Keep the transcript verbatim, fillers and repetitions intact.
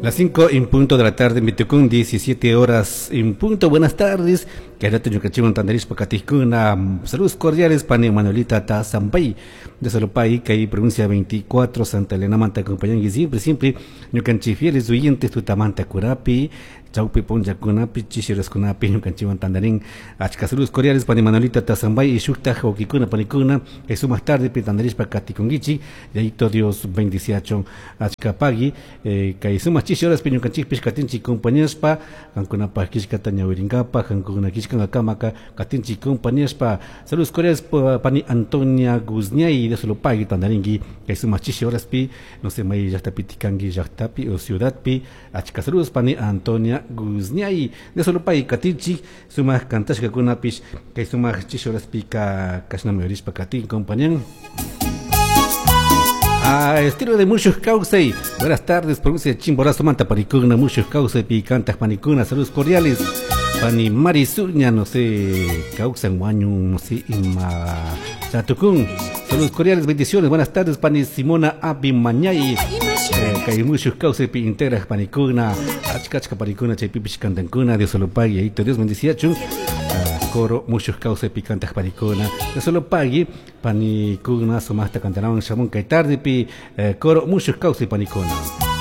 Las cinco en punto de la tarde, Mitucún, diecisiete horas en punto. Buenas tardes. Quédate ñukanchikwan tantarishpa katikuna. Saludos cordiales, pani Manuelita Tazampay, de Salopay, kay provincia veinticuatro, Santa Elena manta, acompañan siempre, siempre, ñukanchik fieles oyentes, tutamanta kurapi, chaupi punllakunapi, chishiraskunapi, ñukanchikwan tantarin. Achka saludos cordiales, pani Manuelita Tazambay, y shuktaj wawkikuna, panikuna, eso más tarde, pitandarishpa katikunkichik, y ahí todo Dios bendiciachon, achka pagui, eh, kay sumaq chishi horaspi ñukanchikpish katinchik compañaspa, kankunapaj kishkata ñawirinkapaj, kankuna kishkankakamaka, katinchik compañaspa. Saludos cordiales, pani Antonia Guzñay, de Solopagui, tandarinki, kay sumaq chishi horaspi, no sé, may llaqtapi tikanki llaqtapi o ciudadpi, achka saludos, pani Antonia Guzñay, de Solopagui, katinchik, sumaq kantashkakunapish, kay sumaq chishi horaspi ka kashnami yorishpa katin compañan. Ah, estilo de Mushuj Kawsay. Buenas tardes, provincia de Chimborazo, Manta, Paricuna, Mushuj Kawsay, Picantas, Panicuna, saludos cordiales. Pani Marisuña, no sé, Causan, Guaño, no sé, Ima, Chatucún. Saludos cordiales, bendiciones. Buenas tardes, Pani Simona Abimañay. Eh, kay Mushuj Kawsay, pi integras, Panicuna, Achkachka, Panicuna, Chaypipish, Cantancuna, Dios lo pague, ahí Dios bendiciachun. Ah, coro Mushuj Kawsay, picantas, Panicuna, Dios lo pague, Panicuna, sumasta, cantanaban, shamun, kay tarde, pi, eh, coro Mushuj Kawsay, Panicuna.